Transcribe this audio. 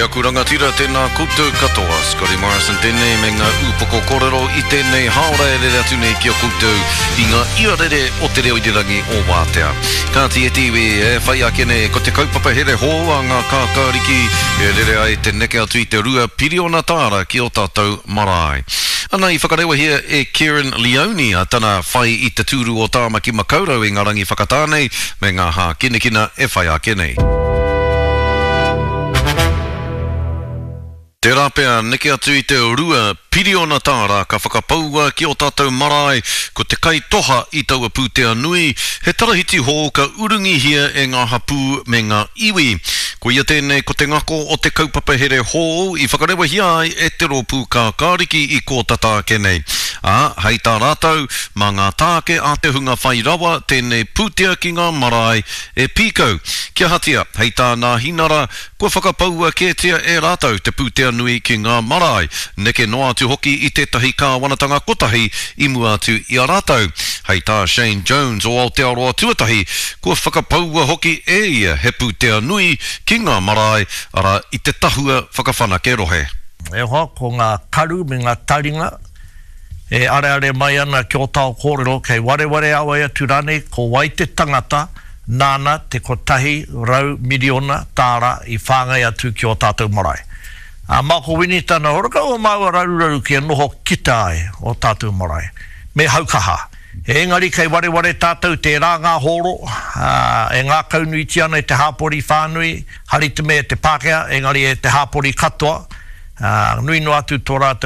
aku rangatira, tēnā koutou katoa. Scotty Morrison tēnei me ngā ūpoko kōrero i tēnei hāora e rere atu nei ki a koutou i ngā iarere o te reo irirangi o Wātea. Kāti e te iwi, e whai ake nei ko te kaupapa here hou a ngā kākāriki e rere ai te neke atu i te 2 piriona tāra ki ō tātou marae. Ana i whakarewahia e Kerrin Leoni a tana whai i te tūru o Tāmaki Makaurau i ngā rangi whakatā nei me ngā hākinakina e whai ake nei. Tērā pea neke atu i te 2 piriona tāra ka whakapaua ki ō tātou marae, ko te kaitoha i taua pūtea nui, he tarahiti hou ka urungihia e ngā hapū me ngā iwi. Koia tēnei ko te ngako o te kaupapa here hou i whakarewahia ai e te Rōpū Kākāriki i kō tata ake nei. Ā, hei tā rātou, mā ngā tāke a te hunga whai rawa tēnei pūtea ki ngā marae e pīkau. Kia ahatia, hei tā Nāhinara, kua whakapaua kētia e rātou te pūtea nui ki ngā marae, neke noa atu hoki i tētahi kāwanatanga kotahi i mua atu i a rātou. Hei tā Shane Jones o Aotearoa Tuatahi, kua whakapaua hoki e ia he pūtea nui ki ngā marae, arā, i te Tahua Whakawhanake Rohe. E hoa, ko ngā karu me ngā taringa e areare mai ana ki ō tāo kōrero, kei wareware a wai atu rānei ko wai te tangata nāna te 100 miriona tāra i whāngai atu ki ō tātou marae. Ā, mā ko Winitana horakau o māua raruraru kia noho kita ai ō tātou marae. Me haukaha. Engari kei wareware tātou tērā ngā hōro, ā, e ngākaunuitia ana e te hāpori whānui, hari te mea e te Pākehā, engari e te hāpori katoa, ā, nui noa atu tō rātou.